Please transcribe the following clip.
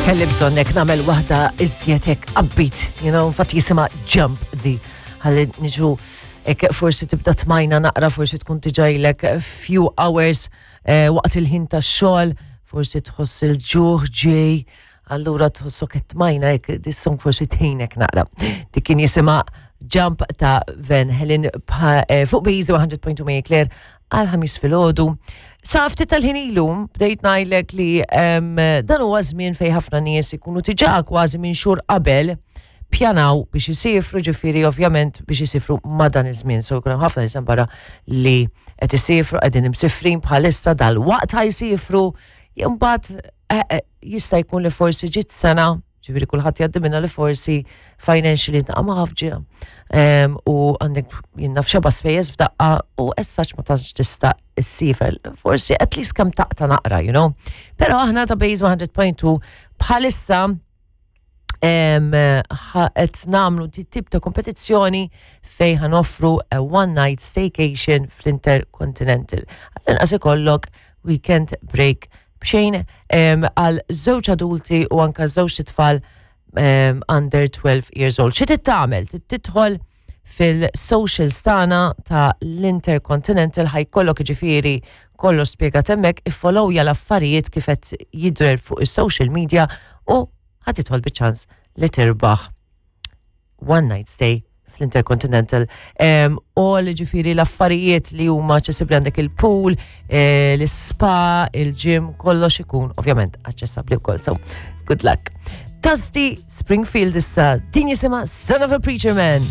Kelli bżonnek nagħmel waħda iżjed hekk upbeat, you know, infatti jisimha Jump di ħalli niġu hekk forsi tibda tmajna naqra, forsi tkun tiġajlek few hours eh, waqt il-ħin tax-xogħol, forsi tħoss il-ġuħ ġej, allura tħossok qed tmajna hekk dis-song forsi tħinek naqra. Dik kien jisimha Jump ta' Van Helen eh, fuq Bejzi 100.2 Marie Claire għal ħamis filgħodu. Sa ftit tal-ħin ilu bdejt ngħidlek li dan huwa żmien fejn ħafna nies ikunu diġà kważi minn xhur qabel pjanaw biex isifru, ġifieri ovvjament biex isifru ma' dan iż-żmien. So jkun hemm ħafna nies barra li qed isifru, qegħdin imsifrin bħalissa dal-waqt ħajsifru, imbagħad eh, eh, jista' jkun li forsi ġiet sena, ġifieri kulħadd jgħaddi minna li forsi financially ntaqa' ma' ħafġa u għandek jinnaf xeba spejjeż f'daqqa u essaċ ma tantx tista' issifer. Forsi at least kemm taqta' naqra, you know. Però aħna ta' Base 100.2 bħalissa qed nagħmlu tip ta' kompetizzjoni fejn ħanoffru a one night staycation fl-Intercontinental. Għall-inqas ikollok weekend break b'xejn għal żewġ adulti u anka żewġ tfal under 12 years old. Xi tagħmel? Tidħol fil-socials tagħna ta' l-Intercontinental ħajkollok ġifieri kollox spjegat hemmhekk, iffollowja l-affarijiet kif qed jidher fuq is-social media u ħa tidħol biċ-ċans li tirbaħ one night stay fl-Intercontinental. U li ġifiri l-affarijiet li huma aċċessibbli għandek il-pool, eh, l-spa, il-gym, kollox ikun ovvjament aċċessibbli wkoll. So, good luck. Tasty Springfield issa din jisimha Son of a Preacher Man.